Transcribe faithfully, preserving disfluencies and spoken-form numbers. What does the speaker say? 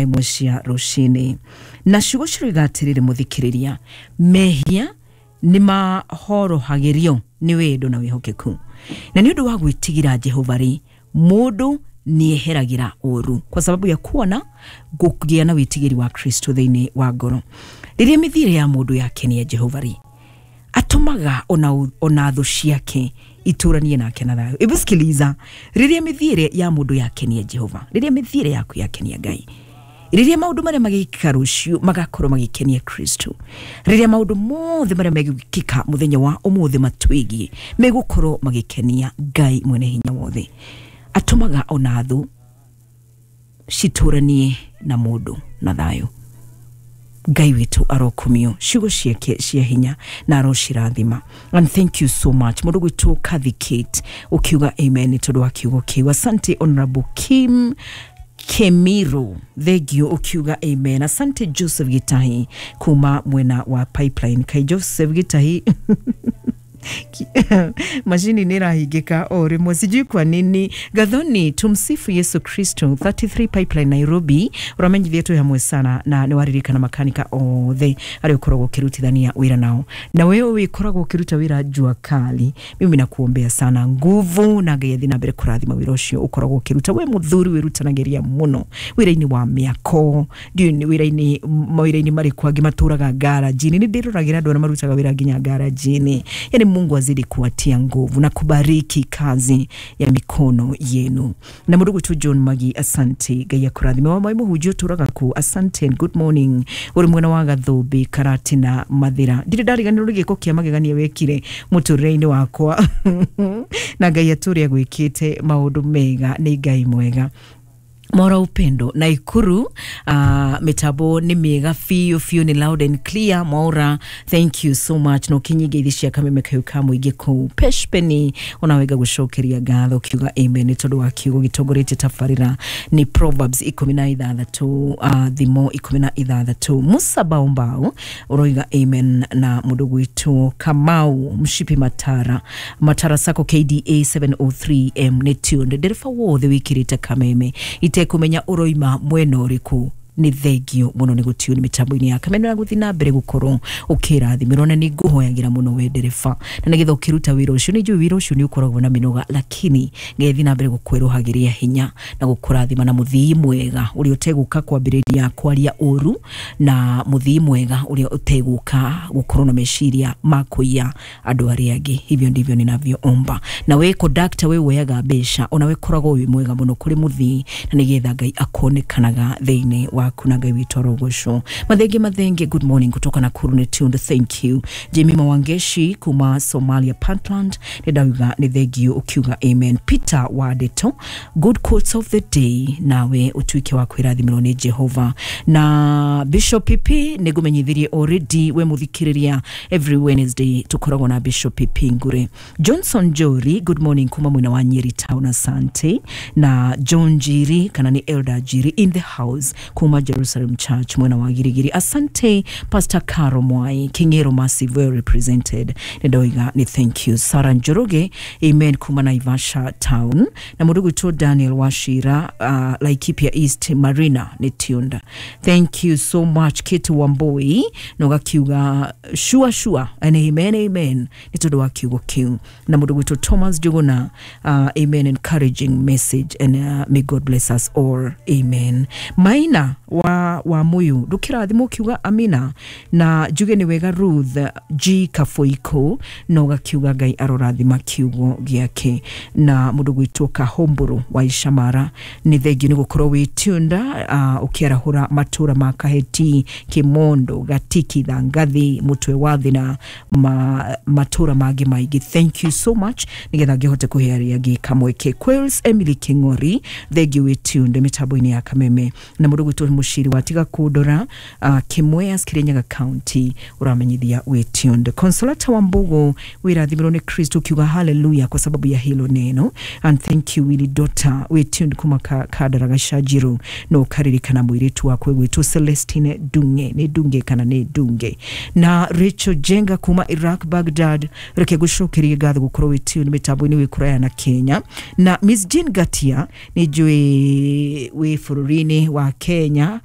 Imwe cia rũcinĩ na ciugo ciroiga atĩrĩrĩ, mũthikĩrĩria, mehia nĩ mahorohagĩrio nĩ wendo na wĩhokeku, na nĩ ũndũ wa gwĩtigĩra Jehova rĩ, mũndũ nĩeheragĩra ũru, kwa sababu ya kuwa na kũgĩa na wĩtigĩri wa Kristo thĩinĩ wa ngoro. Rĩrĩa mĩthiĩre ya mũndũ yakenia Jehova rĩ, atũmaga ona, ona thũ ciake itũranie nake na thayũ. Hebu sikiliza, rĩrĩa mĩthiĩre ya mũndũ yakenia Jehova, rĩrĩa mĩthiĩre yaku yakenia Ngai, rĩrĩa maũndũ marĩa magĩkĩka rũciũ magakorwo magĩkenia Kristo, rĩrĩa maũndũ mothe marĩa megwĩkĩka mũthenya wa ũmũthĩ matwĩgiĩ megũkorwo magĩkenia Ngai mwene hinya wothe, atũmaga ona thũ citũranie na mũndũ na thayũ. Ngai witũ arokumio, ciugo ciake cia hinya na arocirathima. And thank you so much, mũndũ gwitũ Kathy Kate, ũkiuga amen nĩ tondũ wa kiugo kĩu. Asante Honorable Kim Kemiro, thengio ukiuga amen. Asante Joseph Gitahi kuma mwena wa Pipeline. Kai Joseph Gitahi, mashini nĩ ĩrahingĩka o rĩmwe, sijui kwa nini. Gathoni, tumsifu Yesu Kristo, thirty-three Pipeline Nairobi, ũramenyithia twĩ hamwe sana na nĩ waririkana makanika othe arĩa ũkoragwo ũkĩrutithania wĩra nao, na wewe ũkoragwo ũkĩruta wĩra jua kali, mimi nakuombea sana nguvu na Ngai athiĩ na mbere kũrathima wĩra ũcio ũkoragwo ũkĩruta. We mũthuri wĩrutanagĩria mũno wĩra-inĩ wa mĩako, ndiũĩ nĩ wĩra-inĩ mawĩra-inĩ marĩkũ angĩ matũraga garage-inĩ, nĩ ndĩroragĩra andũ arĩa marutaga wĩra nginya garage-inĩ. Yani Mungu azidi kuwatia nguvu na kubariki kazi ya mikono yenu. Na mũndũ gwitũ John Magi, asante, Ngai akũrathime. Wa mai mũhunjia ũtũraga kũ, asante and good morning, ũrĩ mwena wa Gathũmbĩ Karatina Mathĩra. Ndirĩ ndariganĩrwo nĩ gĩko kĩa magegania wekire mũtũrĩre-inĩ wakwa na Ngai atũre agwĩkĩte maũndũ mega, nĩ Ngai mwega. Mora Upendo Naikuru, uh, mitambo nĩ mĩega biũ biũ, nĩ loud and clear. Mwaura, thank you so much. No kinyinge ithi cia kameme kayu ka mũingĩ kũu Peshpeni, ona wega gũcokeria ngatho kiuga amen nĩ tondũ wa kiugo gĩtongoretie tabarĩra nĩ Proverbs ikũmi na ithathatũ, uh, thimo ikũmi na ithathatũ. Musa Baombao ũroiga amen. Na mũndũ gwitũ Kamau Mshipi Matara, Matara Sacco K D A seven oh three M nĩ tuned. Ndereba wothe wĩkĩrĩte kameme itekũmenya ũroima mwena ũrĩkũ, nĩ thengio mũno nĩ gũtune mĩtambo-inĩ ya kameme na gũthiĩ na mbere gũkorwo ũkĩrathimĩrwo, na nĩ ngũhoyagĩra mũno we ndereba, na nĩgetha ũkĩruta wĩra ũcio, nĩ njũĩ wĩra ũcio nĩ ũkoragwo na mĩnoga, lakini Ngai athiĩ na mbere gũkwerũhagĩria hinya na gũkũrathima na mũthii mwega ũrĩa ũtegũka kwambĩrĩria kwaria ũru, na mũthii mwega ũrĩa ũtegũka gũkorwo na meciria ma kũiya andũ arĩa angĩ. Hivyo ndivyo ninavyoomba. Na we conductor, we woyaga mbeca, ona we koragwo wĩ mwega mũno kũrĩ mũthii, na nĩgetha Ngai akonekanaga thĩinĩ waku, na Ngai witũ arogocwo. Mathenge Mathenge, good morning kutoka Nakuru, nĩ tuned, thank you. Jemima Wangeshi kuma Somalia Puntland, nĩ ndauga nĩ thengio ũkiuga amen. Peter Wadeto, good quotes of the day, nawe ũtuĩke wa kwĩrathimĩrwo nĩ Jehova. Na Bishop P P nĩ ngũmenyithirie already, we mũthikĩrĩria, every Wednesday tũkoragwo na Bishop P P Ngure. Johnson Jori, good morning kuma mwena wa Nyeri Town, asante. Na John Njiri kana nĩ Elder Njiri in the house kuma Jerusalem Church mwena wa Girigiri, asante. Pastor Caro Mwai Kingero Massive, well represented, nĩ ndoiga nĩ thank you. Sarah Njoroge, amen kuma Naivasha Town. Na mũndũ gwitũ Daniel Washira, uh, Laikipia East Marina nĩ tuned, thank you so much. Kate Wamboi na ũgakiuga sure sure and amen amen nĩ tondũ wa kiugo kĩu. Na mũndũ gwitũ Thomas Njuguna, uh, amen, encouraging message and uh, may God bless us all, amen. Maina wa wa muyu, ndũkĩrathimwo ũkiuga amina. Na njuge nĩ wega Ruth G Kafoiko, na ũgakiuga Ngai arorathima kiugo gĩake. Na mũndũ gwitũ Kahombũrũ wa Icamara, nĩ thengio nĩ gũkorwo wĩ tuned, uh, ũkĩarahũra matũra ma Kaheti, Kimondo, Gatiki, Thangathi, Mũtwe wa Thina, ma, matũra mangĩ maingĩ, thank you so much, nĩgetha ngĩhote kũhe arĩa angĩ kamweke. Quails Emily King'ori, thengio wĩ tuned mĩtambo-inĩ ya kameme. Na mũndũ gwitũ Mũciri watiga kũndora, uh, Kĩmweas, Kirinyaga County, ũramenyithia wĩ tuned. Consolata wa Mbogo, wĩrathimĩrwo nĩ Kristo, ukiuga haleluya kwa sababu ya hilo neno, and thank you. Willy Dota wĩ tuned kuma ka, Kandara Gachanjiro, no ũkaririkana mũirĩtu wakwe gwĩtwo Celestine Dunge, nĩ Dunge kana nĩ Dunge. Na Rachel Jenga kuma Iraq Baghdad, reke gũcokerie ngatho gũkorwo wĩ tuned mĩtambo-inĩ wĩ kũraya na Kenya. Na Miss Jean Gatia, nĩ njũĩ wĩ bũrũri-inĩ wa Kenya. Kenya.